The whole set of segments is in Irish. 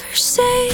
ever say.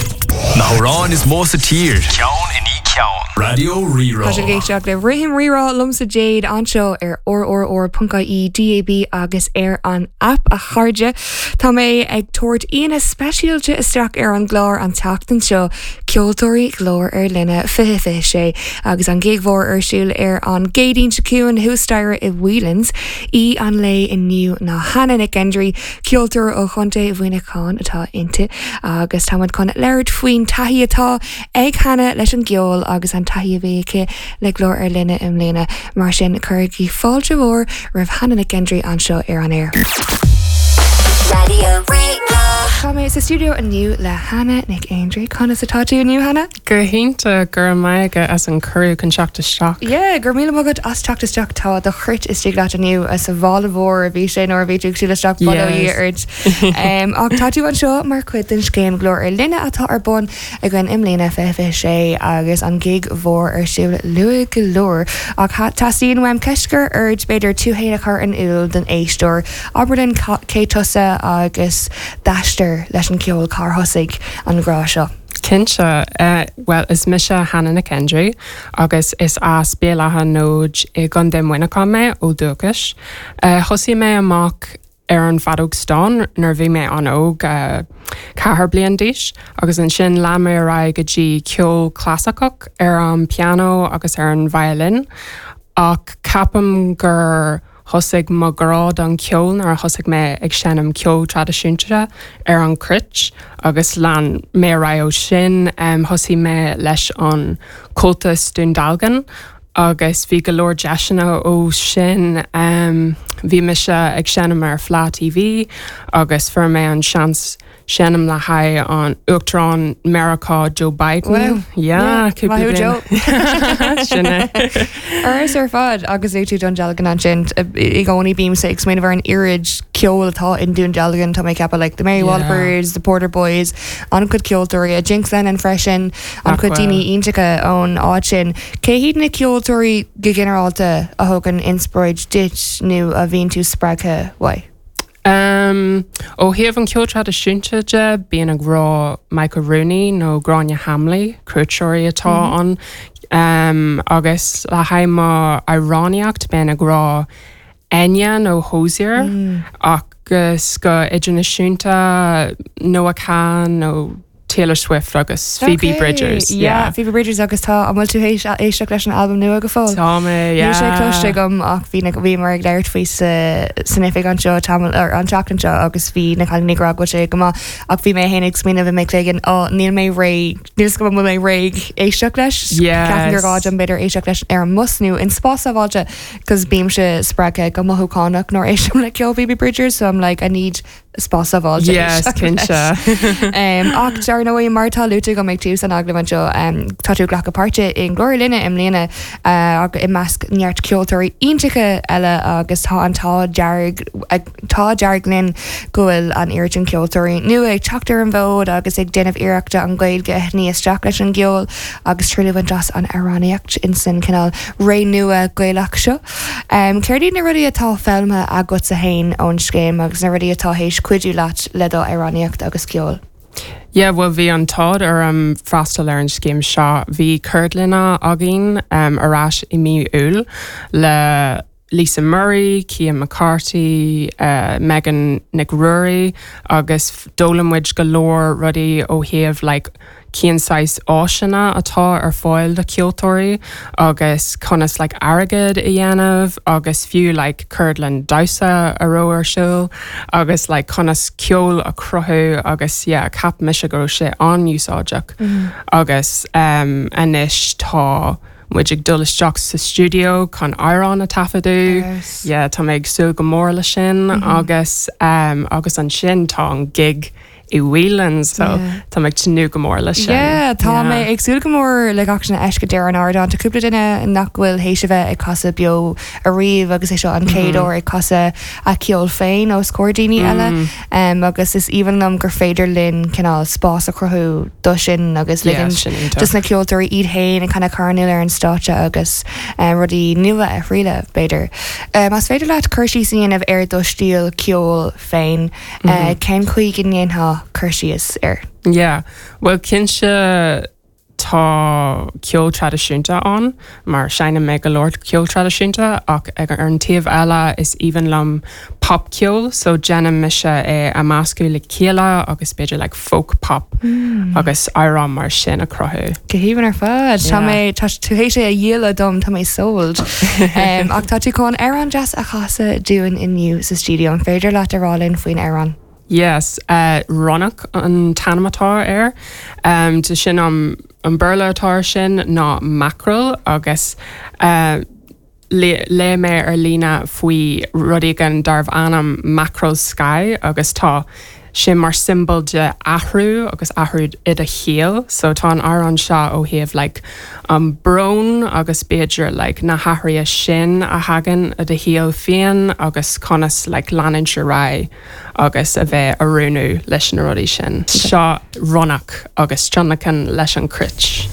Na hamhráin is mó sa tír, ceann i ndiaidh ceann. Raidió Rí-Rá. Tá sibh ag éisteacht le Rithim Rí-Rá liomsa Jade anseo ar rrr.ie, DAB agus ar an aip a chairde. Tá mé ag tabhairt aíonna speisialta isteach ar an gclár an tseachtain seo, Ceoltóirí Ghlór ar Line 2026 agus an gig mhór ar siúl ar an gCéadaoin seo chugainn thuas staighre i Whelan's. Aoi an lae inniu ná Hannah Nic Aindrí, Ceoltóir ó Chontae Mhuineacháin atá inti agus táimid chun labhairt faoin taithí atá ag Hannah leis an gceol agus an taithí a bhí aici le Glór ar Line i mbliana. Mar sin, cuirigí fáilte mhór roimh Hannah Nic Aindrí anseo ar an aer. Raidió Rí-Rá. Tá mé sa stiúideo inniu le Hannah Nic Aindrí. Conas atá tú inniu, Hannah? Go hiontach, go raibh maith agat as an cuireadh chun teacht isteach. Yeah, go raibh míle maith agat as teacht isteach. Tá do chruit istigh leat inniu, sa mhála mhór a bhí sé nuair a bhí tú ag siúl isteach, bail ó Dhia ort. Ach tá tú anseo mar chuid den scéim Glór ar Line atá ar bun againn i mbliana, 2026, agus an gig mhór ar siúl luath go leor. Ach teastaíonn uaim ceist a chur ort, b'fhéidir tú fhéin a chur in iúl don éisteoir. Abair linn cé tusa agus d'aistear leis an gceol, cár thosaigh an grá seo? Cinnte. Bhuel, is mise Hannah Nic Aindrí agus is as Béal Átha an Fhóid i gContae Mhuineacháin mé ó dhúchas. Thosaigh mé amach ar an bhfeadóg stáin nuair a bhí mé an-óg, 4 bliain d'aois, agus ansin lean mé ar aghaidh go dtí ceol clasaiceach ar an pianó agus ar an violin. Ach ceapaim gur. Thosaigh mo ghrá don cheol nuair a thosaigh mé ag seinm ceol traidisiúnta ar an chruit agus lean mé ar aghaidh ó sin. Thosaigh mé leis an Comhaltas Dún Dealgan agus bhí go leor deiseanna ó sin. Bhí mise ag seinm ar Fleadh TV agus fuair mé an seans seinm le haghaidh an Uachtarán Meiriceá Joe Biden. Wow. Yeah, cúpla Maith thú, bliain. Joe. Sin é. Ar ar fad agus luaigh tú Dún Dealgan ansin i gcónaí bímse ag smaoineamh ar an oiread ceoil atá in Dún Dealgan tá mé ag ceapadh like the Mary Yeah. Wallopers, the Porter Boys, an-chuid ceoltóirí, Jinx Lennon freisin, an-chuid Nach daoine bhfuil. iontacha ón áit sin. Cé hiad na ceoltóirí go ginearálta a thugann inspioráid duit nó a bhíonn tú spreagtha uaidh? Umm, ó thaobh an ceol traidisiúnta de, bím ag rá Michael Rooney nó Gráinne Hamley, cruiteoirí atá ann. Umm, agus le haghaidh mo amhránaíocht, bím ag rá Enya nó Hozier, agus go idirnáisiúnta, Noah Kahan nó Taylor Swift agus Phoebe Ok, Bridgers, yeah, yeah. Phoebe Bridgers agus tá, an bhfuil tú théis éisteacht leis an albam nua go fóill? Tá mé, Níl sé yeah. cloiste agam ach bhí na, bhíomar ag labhairt faoi sa, san oifig anseo tamall, or an tseachtain seo agus bhí na cailíní ag rá go bhfuil sé go maith ach bhí mé féin ag smaoineamh i mo chloigeann, oh níl mé réidh, níl 's agam an bhfuil mé réidh éisteacht leis. Ceapaim gur gá Yes. dom b'fhéidir éisteacht leis ar an mbus nó in spás sábháilte 'cause bímse spreagtha go mothúchánach nuair a éistim le ceol Phoebe Bridgers so I'm like I need spás sábháilte. Yes, cinnte. Ach dar ndóigh, mar atá luaite agam ag tús an agallaimh anseo, tá tú ag glacadh páirte i nGlór ar Line i mbliana i measc neart ceoltóirí iontacha eile agus tá an t-ádh dearg, t-ádh dearg linn go bhfuil an oiread sin ceoltóirí nua ag teacht ar an bhfód agus ag déanamh iarrachta an Ghaeilge a shní isteach leis an gceol agus triail a bhaint as an amhránaíocht insan cineál ré nua Gaelach seo. Céard iad na rudaí atá foghlamtha agatsa fhéin ón scéim agus na rudaí atá théis cuidiú leat le do amhránaíocht agus ceol? Yeah, bhuel bhí an t-ádh orm freastal ar an scéim seo. Bhí ceardlanna againn ar ais i mí Iúil le Lisa Murray, Cian McCarthy, Megan Nic Ruairí agus d'fhoghlaim muid go leor rudaí ó thaobh like cén saghas áiseanna atá ar fáil do cheoltóirí agus conas like airgead a dhéanamh agus fiú like ceardlann damhsa a raibh ar siúl agus like conas ceol a chruthú agus yeah cheap mise go raibh sé an-úsáideach agus um anois tá muid ag dul isteach sa stiúideo chun amhrán a taifeadadh yeah tá mé ag súil go mór le sin agus um agus ansin tá an gig i Whelan's so tá mé ag tnúth go mór leis sin. Yeah, tá mé ag súil go mór le gach sin a fheiscint ar an ardán. Tá cúpla duine nach bhfuil théis a bheith ag casadh beo ariamh agus é seo an chéad uair ag casadh a ceol féin os comhair daoine eile. Agus is aoibhinn liom gur féidir linn cineál spás a chruthú do sin agus Yeah, ligint sin iontach. dos na ceoltóirí iad féin a kind of cur in iúl ar an stáitse agus rudaí nua a thriaileadh, b'fhéidir. Más féidir leat cur síos a dhéanamh ar do stíl ceoil féin, Cén chaoi go ndéanfá cur síos air? Yeah, bhuel cinnte tá ceol traidisiúnta ann mar seinneann mé go leor ceol traidisiúnta ach ag ar an taobh eile is aoibhinn liom popcheol so déanann mise é a meascadh le chéile agus b'fhéidir like folk pop agus amhrán mar sin a chruthú. Go haoibhinn ar fad. Tá mé tá tú théis é a dhíol dom tá mé sold. um, ach tá tú chun amhrán deas a chasadh dúinn inniu sa stiúideo an féidir leat a rá linn faoin amhrán? Yes, Ronnach an t-ainm atá air. De sin an Béarla atá air sin ná mackerel agus léigh mé ar líne faoi rud éigin darbh ainm mackerel sky agus tá sé mar siombail de athrú agus athrú i do shaol. So tá an amhrán seo ó thaobh like an brón agus b'fhéidir like na hathruithe sin a thagann i do shaol féin agus conas like leanúint ar aghaidh. agus a bheith oiriúnú leis na rudaí sin. Seo Ronnach agus tionlacan leis an cruit.